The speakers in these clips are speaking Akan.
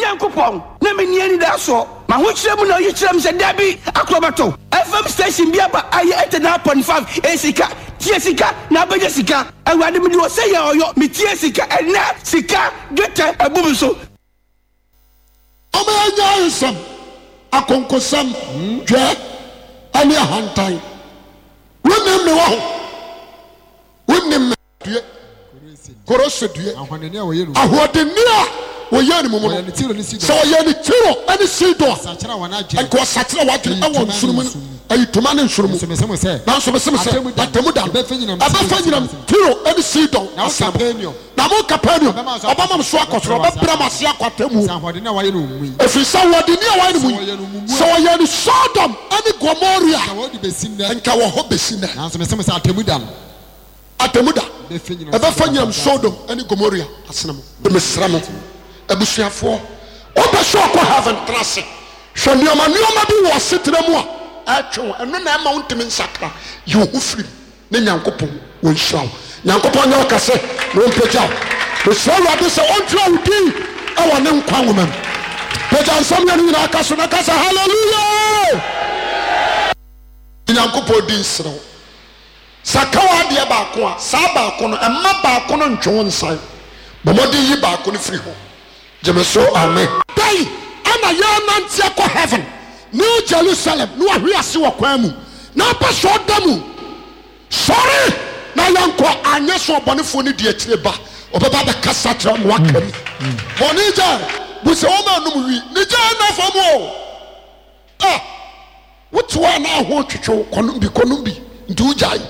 Nyankopɔn, na menni anidasoɔ. M'ahokyerɛ mu na ɔyi kyerɛɛ me sɛ, Dabi, akorɔbɛto FM station bi aba a ɛyɛ 89.5, ɛyɛ sika, tie sika na abɛnya sika. Awurade, mede ɔsɛ yɛ ɔyɔ, metie sika, ɛnnɛ sika, dwetɛ, abu me so. Momma yɛnnyae nsɛm, akonkosɛm, dwɛɛ, ne ahantan. Wonnim me wɔ ho. Wonnim me. Due. Korose due. Ahoɔdenne a wɔyɛ no mu. Ahoɔdenne a wɔyɛ no mu no. Wɔyɛ no Tiro ne Sidon. Sɛ wɔyɛ no Tiro ne Sidon a. Nsakyera wɔn adwene. Nka wɔsakyera wɔn adwene ɛwɔ nsono mu. Ayitoma ne nsono mu. Nanso mese mo sɛ. Nanso mese mo sɛ. Atemmu da no. Ɛbɛfa nyinam Tiro ne Sidon Na wo asene mu. Kapernaum. Na mo Kapernaum. Ɔbɛma so akɔ Ɔbɛma mo so akɔ soro. Ɔbɛbrɛ mo ase akɔ atemmuo. Sɛ ahoɔdenne a wɔayɛ no wɔn mu yi. Ɛfiri sɛ ahoɔdenne a wɔayɛ no mu yi. Sɛ wɔyɛ no mu mu a. Sɛ wɔyɛ no Sodom ne Gomoria. Nka wɔde bɛsi nnɛ. Nka wɔ hɔ bɛsi nnɛ. Nanso mese mo sɛ atemmu da no. Atemmuda ɛbɛfa nyinam Sodom ne Gomoria asene mo. Mesrɛ mo abusuafoɔ, wopɛ sɛ ɔkɔ heaven tena ase hwɛ nneɛma nneɛma bi wɔ asetena mu a ɛtwe wo, ɛno na ɛma wontumi nsakra. Yi wo ho firi mu ne Nyankopɔn wɔnhyira wo. Nyankopɔn nyɛ wo kɛse na ɔmpagya wo. Mesrɛ Awurade sɛ ɔntwerɛ wo din wɔ ne nkwa nwoma mu. Pagya nsɛm mmienu nyinaa ka so na ka sɛ hallelujah! Nyankopɔn di nsrɛ wo. Sɛ aka w'adeɛ baako a, saa baako no, mma baako no ntwe wo nsan. Bɔ mmɔden yi baako no firi hɔ. Gye me so, amen. Dɛn na yɛrenante akɔ heaven, New Jerusalem, na wahwe ase wɔ kwan mu, na apɛ sɛ ɔda mu? Sɔre na yɛnkɔ, anyɛ sɛ ɔbɔnefoɔ no di akyire ba, ɔbɛba abɛkasa akyerɛ wo ma woaka mu. Bɔne gyae, bu sɛ wɔma anom wi, ne gyae nna fam o. Ah! Wote hɔ a na aho twetwe wo, kɔnom bi, kɔnom bi, nti wogyae.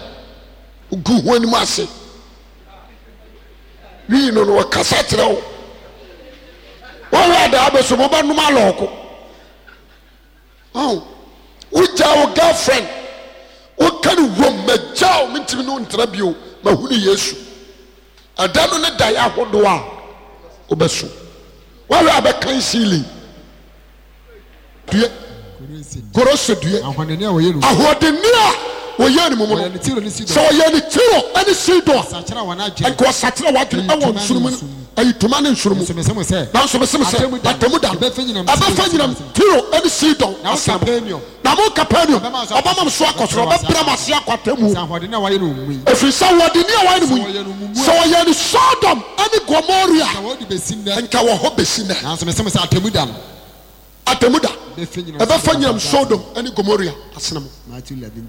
Wogu ho anim ase. Wii no no wɔkasa kyerɛ wo. Wɔhwɛ adaa bɛ so mobɛnom alɔɔko. Oh, wogyaa wo girlfriend. Woka no wom, magyaa wo, mentumi ne wo ntena bio, mahunu Yesu. Ɛda no ne daeɛ ahodoɔ a wobɛso. Woahwɛ a bɛkan ceiling. Due. Korose due. Ahoɔdenne a wɔyɛ no mu. Ahoɔdenne a wɔyɛ no mu no. Wɔyɛ no Tiro ne Sidon. Sɛ wɔyɛ no Tiro ne Sidon a. Nsakyera wɔn adwene. Nka wɔsakyera wɔn adwene ɛwɔ nsono mu. Ayitoma ne nsono mu. Nanso mese mo sɛ. Nanso mese mo sɛ. Atemmu da no. Ɛbɛfa nyinam Tiro ne Sidon Na wo asene mu. Kapernaum. Na mo Kapernaum. Ɔbɛma mo so akɔ soro. Ɔbɛbrɛ mo ase akɔ atemmuo. Sɛ ahoɔdenne a wɔayɛ no mu yi. Ɛfiri sɛ ahoɔdenne a wɔayɛ no mu yi. Sɛ Sɛ wɔyɛ no Sodom ne Gomoria. Nka wɔde bɛsi nnɛ. Nka wɔ hɔ bɛsi nnɛ. Nanso mese mo sɛ atemmu da no. Atemmu da. Ɛbɛfa nyinam Sodom ne Gomoria asene mo. Matthew 11.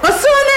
Osu ne.